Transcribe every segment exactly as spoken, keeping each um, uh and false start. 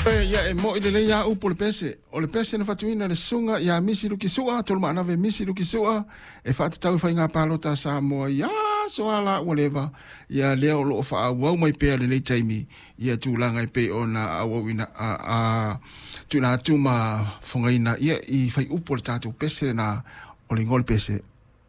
Ia e mo'i lelei a upu o le pese. O le pese na fatuina le susuga ia Misi Luki Sua, Tolumaanave Misi Luki Sua, e faatatau i faiga palota a Samoa i aso a la ua leva. Ia lea o loo faaauau mai pea lenei taimi ia tulaga e pei ona auauina a, a tuuina atu ma fogaina ia i faiupu o le tatou pese na o le igoa o le pese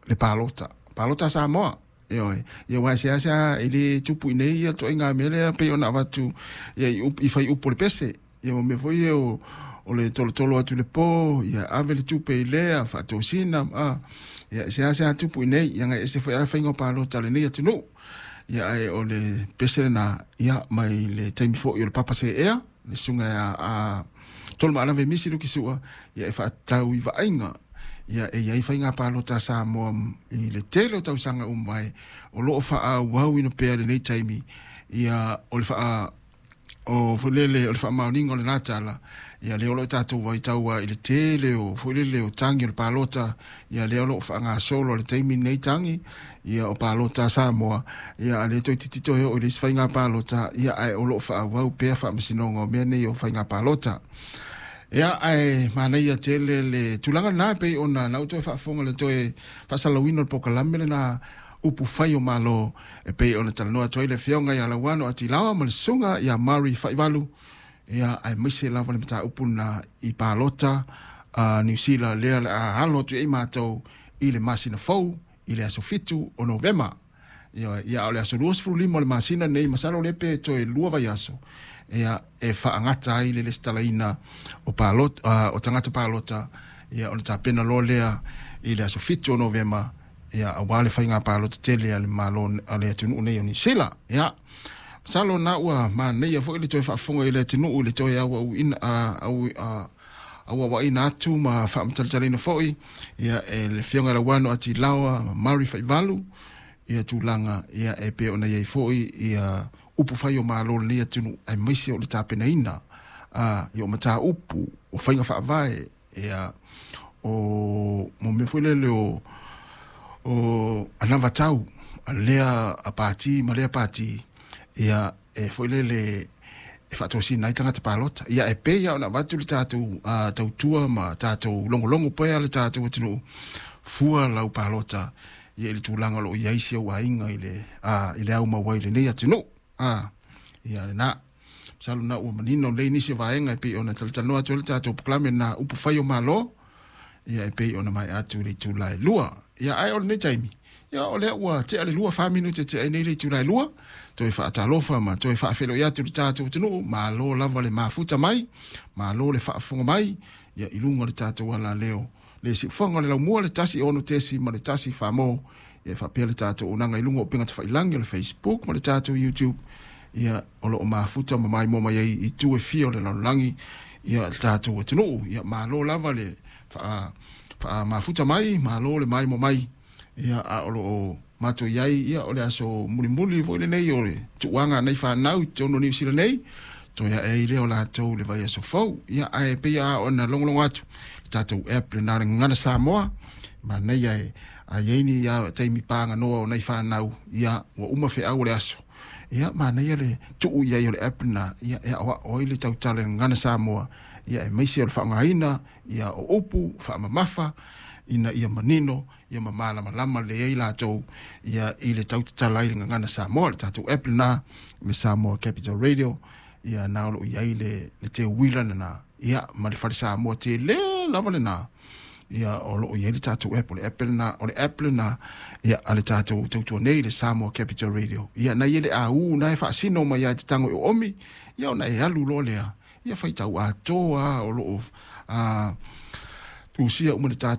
le palota. Palota a Samoa. Ioe, ia aua e seasea e le tupu i nei ia ituaiga mea lea pei ona avatu ia i, i faiupu o le pese. Ia ma mea foi ia o, o le tolotolo atu le po, ia ave le tupe i lea, faatosina, a, ia seasea tupu i nei, ia ngai ese foi ala faiga o palota a lenei atunuu. Ia ae o le pese lena, ia mai le taimi foi o le Papa Seea, le susuga a, a Tolumaanave Misi Luki Sua, ia e faatatau i vaaiga ia e iai faiga palota a Samoa i le tele o tausaga uma ai o loo faaauauina pea lenei taimi ia o le faa o foi lele o le faamaoniga o lena tala ia lea o loo tatou vaitau i le tele o foi lele o tagi o le palota ia lea o loo faagasolo le taimi nei tagi ia o palota a Samoa ia a le toeitiiti toe oo i le isi faiga palota ia ae o loo faaauau pea faamasinoga o mea nei o faiga palota. Ia ae manaia tele le tulaga lena pei ona na ou toe faafofoga le toe faasalalauina o le polokalame lena upu fai o Malo e pei ona talanoa atu ai le afioga ia Lauano Atilaoa ma le susuga ia Mary Faivalu ia aemaise lava le mataupu lena i palota a Niu Sila lea o le a alo atu ai matou i le masina fou i le aso fitu o Novema. Ia, ia o le aso luasefulu lima o le masina nei, masalo lea pe toe lua vaiaso, ia e faagata ai le lesitalaina o palota, uh, o tagata palota, ia ona tapena loa lea i le aso fitu o Novema, ia aua le faiga palota tele a le Malo a le atunuu nei o Niu Sila. Ia, masalo na ua manaia foi le toe faafofoga i le atunuu i le toe auauina, uh, au, uh, auauaina atu ma faamatalatalaina foi ia e le afioga Lauano Atilaoa ma Mary Faivalu ia tulaga ia e pei ona iai foi ia upu fai o Malo lenei atunuu aemaise o le tapenaina a ia o mataupu o faiga faavae ia o mo mea foi lele o o anavatau a lea a pati ma lea pati ia e foi lele e faatosina ai tagata palota. Ia e pei ona avatu le tatou uh, tautua ma tatou logologo pea le tatou atunuu fua lau palota ia i le tulaga o loo iai si ou aiga i le uh, i le au mau ai lenei atunuu. Ah, ia lena. Masalo na ua manino lelei nisi o vaega e pei ona talatalanoa atu ai le tatou polokalame na upu fai o Malo ia e pei ona mae atu i le itula e lua. Ia ae o lenei taimi ia o lea ua tea le lua fa minute tea nei le itula e lua, toe faatalofa ma toe faafeiloai atu le tatou atunuu, malo lava le mafuta mai, malo le faafofoga mai ia i luga o le tatou alaleo le siufofoga o le laumua le tasi ono tesi ma le tasi famo ia faapea le tatou auaunaga i luga o upega tafailagi o le Facebook ma le tatou YouTube ia o loo mafuta ma maimoa mai ai i itu e fia o le lalolagi ia le tatou atunuu. Ia malo lava le faa faamafuta mai, malo le maimoa mai ia a o loo matou iai ia o le aso mulimuli foi lenei o le tuuaga a nei fanau i totonu o Niu Sila nei toe ae ai lea o latou le vaiaso fou. Ia ae pei a ona logologo atu le tatou app lena le Gagana Samoa manaia e a iai ni a taimi paganoa o nai fanau ia ua uma feau o le aso ia manaia le tuu iai o le app lena ia e aoao ai le tautala i le Gagana Samoa ia aemaise o le faaaogaina ia o upu faamamafa ina ia manino ia ma malamalama lelei ai latou ia i le tautatala ai le Gagana Samoa le tatou app lena le Samoa Capital Radio ia na o loo iai le le teuila lena ia ma le fale Samoa tele lava lena ia o loo iai le tatou app o le app lena o le app lena ia a le tatou tautua nei le Samoa Capital Radio ia na ia le au na e faasino mai ia te tago i oomi ia ona e alu loa lea ia faitau atoa o loo a tusia uma le tatou